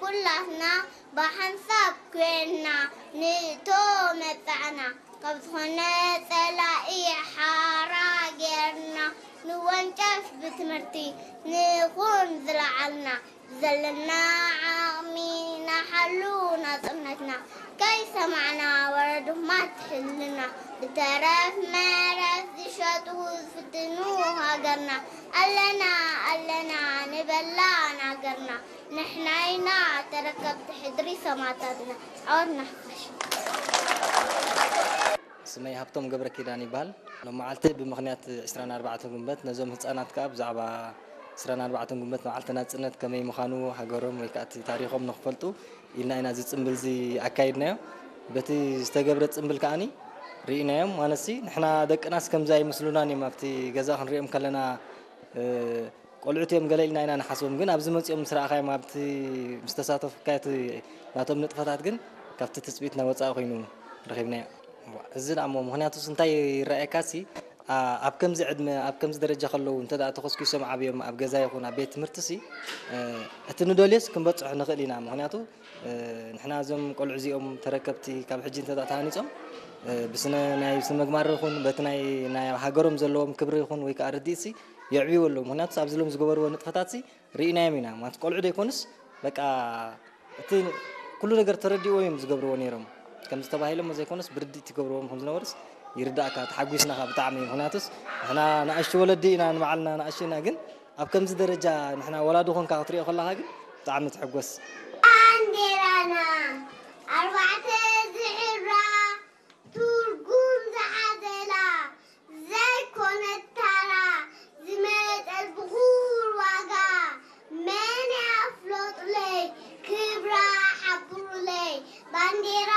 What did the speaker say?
ኩላትና ብሓንሳብ ኮይንና ንእቶ መጻእና፣ ካብ ዝኾነ ጸላኢ ሓራ ጌርና፣ ንወንጨፍ ብትምህርቲ ንኹን ዝለዓልና፣ ዘለና ዓቕሚ ንሓሉ ናጽነትና፣ ከይሰማዕና ወረዱማት ሕልና፣ ብተረፍ መረፍ ዝሸጡ ዝፍትኑ ሃገርና፣ ኣለና ኣለና ንበላ ናገርና፣ ንሕና ኢና ተረከብቲ ሕድሪ ሰማእታትና። ዓወት ንሓፋሽ። ስመይ ሃብቶም ገብረ ኪዳን ይበሃል። ሎም መዓልቲ ብምኽንያት ዕስራን ኣርባዕተን ጉንበት ነዞም ህፃናት ከዓ ብዛዕባ ዕስራን ኣርባዕተን ጉንበት መዓልቲ ናፅነት ከመይ ምዃኑ ሃገሮም ወይ ከዓ እቲ ታሪኾም ንክፈልጡ ኢልና ኢና እዚ ፅምብል እዚ ኣካይድናዮ። በቲ ዝተገብረ ፅምብል ከዓኒ ርኢናዮም። ማለትሲ ንሕና ደቅናስ ከምዚ ኣይመስሉናን እዮም ኣብቲ ገዛ ክንሪኦም ከለና ቆልዑት እዮም ገለ ኢልና ኢና ንሓስቦም፣ ግን ኣብዚ መፂኦም ምስ ረኣኻዮም ኣብቲ ምስ ተሳተፉካ እቲ ናቶም ንጥፈታት ግን ካብቲ ትፅቢትና ወፃኢ ኮይኑ ረኺብናዮ። እዚ ደኣ እሞ ምኽንያቱስ እንታይ ይረኣየካሲ ኣብ ከምዚ ዕድመ ኣብ ከምዚ ደረጃ ከለዉ እንተ ተኾስኪሶም ዓብዮም ኣብ ገዛ ይኹን ኣብ ቤት ትምህርትሲ እቲ ንደልዮስ ክንበፅሖ ንኽእል ኢና። ምኽንያቱ ንሕና እዞም ቆልዑ እዚኦም ተረከብቲ ካብ ሕጂ እንተ ተሃኒፆም ብስነ ናይ ስነ ምግባር ይኹን በቲ ናይ ናይ ሃገሮም ዘለዎም ክብሪ ይኹን ወይ ከዓ ርድኢትሲ የዕብይዎ ኣለዉ። ምኽንያቱ ኣብዚ ሎም ዝገበርዎ ንጥፈታትሲ ርኢናዮም ኢና። ማለት ቆልዑ ደይኮኑስ በቃ እቲ ኩሉ ነገር ተረዲእዎ እዮም ዝገብርዎ ነይሮም። ከምዚ ተባሂሎም ዘይኮኑስ ብርድኢት ይገብርዎም ከም ዝነበሩስ ይርዳእካ። ተሓጒስናኻ ብጣዕሚ። ምኽንያቱስ ንሕና ንኣሽቱ ወለዲ ኢና ንባዕልና ንኣሽቱ ኢና፣ ግን ኣብ ከምዚ ደረጃ ንሕና ወላዲ ኮንካ ክትሪኦ ከለኻ ግን ብጣዕሚ ትሕጎስ። ባንዴራና ኣርባዕተ ዝሕብራ ትርጉም ዝሓዘላ ዘይኮነት ታራ ዝመጠት ብኹር ዋጋ መን ያፍሎጥለይ ክብራ ሓብሩለይ ባንዴራ